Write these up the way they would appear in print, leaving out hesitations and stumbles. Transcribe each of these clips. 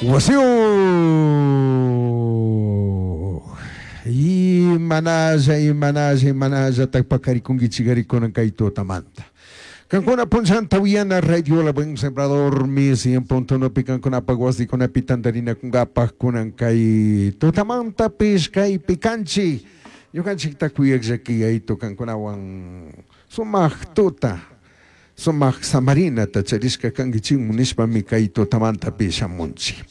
Wasiyuq imanalla imanalla imanallataq paqarikunkichik kunan kay tutamanta. Kankuna punchanta uyana Radio La Buen Sembrador mi 100.1 kankunapaq wasikunapi tantarinakunkapaq kunan kay tutamantapis kaypi kanchik. Ñukanchikta kuyaqllaki yaytu kankunawan sumaq tuta sumaq samarinata charishka kankichikmun nishpami kay tutamantapi shamunchik.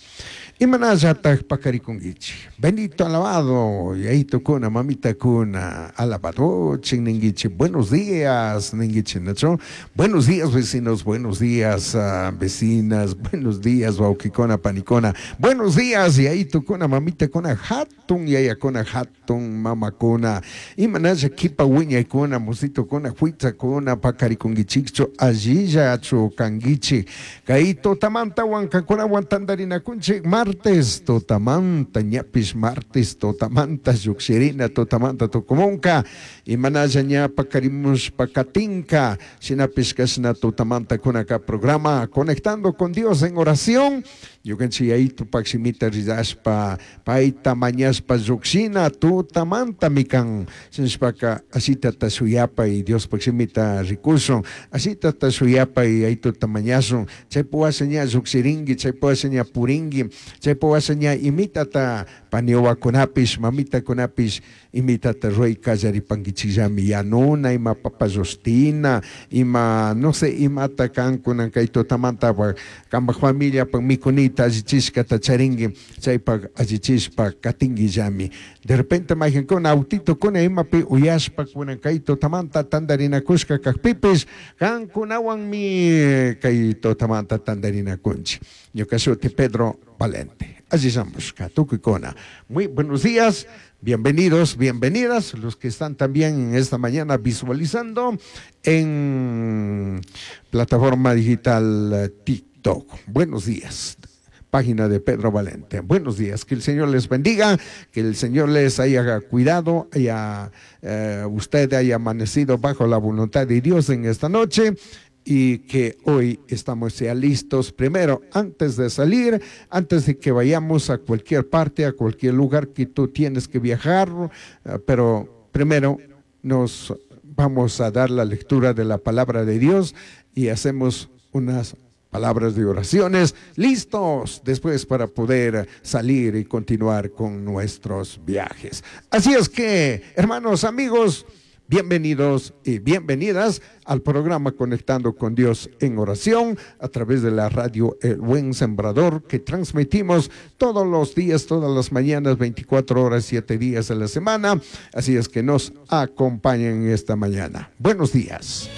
Imanallataq paqarikunkichik. Bendito alabado yaytukuna mamitakuna alabadochik ninkichik buenos días ninkichik nachu buenos días vecinos, buenos días vecinas, buenos días wawqikuna panikuna, buenos días yaytukuna mamitakuna hatun yayakuna hatun mamakuna imanalla kipa wiñaykuna musitukuna huitzakuna paqarikunkichikchu allillachu kankichik kay tutamantawan kankunawan tantarinakunchik martes tutamanta ñapish martes tutamanta lluqshirina tutamanta tukumunka imanalla ña paqarimushpa katinka shinapish kashna tutamanta kunaka programa Conectando con Dios en oración ñukanchik yaytupak shimita rirashpa payta mañashpa lluqshina tutamantami kan shinashpaka ashitata shuyapay Diospak shimita rikushun ashitata shuyapay yaytuta mañashun chaypi washa ña lluqshirinki chaypi washa ña purinki chaypi washa ña imitata paniwakunapish mamitakunapish imitata ruray kallaripankichikllami yanuna ima papa llushtina ima no sé imata kankunan kay tutamanta kanpak familiapak mikunita allichishkata charinki chaypak allichishpa katinkillami de repente mayqankuna autitukuna imapi uyashpa kunan kay tutamanta tantarinakushka kakpipish kankunawanmi kay tutamanta tantarinakunchik. Ñuka shuti Pedro Valente. Allishamushka tukuykuna. Muy buenos días. Bienvenidos, bienvenidas, los que están también en esta mañana visualizando en plataforma digital TikTok. Buenos días. Página de Pedro Valente. Buenos días, que el Señor les bendiga, que el Señor les haya cuidado, haya, usted haya amanecido bajo la voluntad de Dios en esta noche y que hoy estamos ya listos primero, antes de salir, antes de que vayamos a cualquier parte, a cualquier lugar que tú tienes que viajar, pero primero nos vamos a dar la lectura de la palabra de Dios y hacemos unas palabras de oraciones listos después para poder salir y continuar con nuestros viajes. Así es que, hermanos, amigos, bienvenidos y bienvenidas al programa Conectando con Dios en Oración a través de la radio El Buen Sembrador que transmitimos todos los días, todas las mañanas, 24 horas, 7 días a la semana. Así es que nos acompañen esta mañana. Buenos días.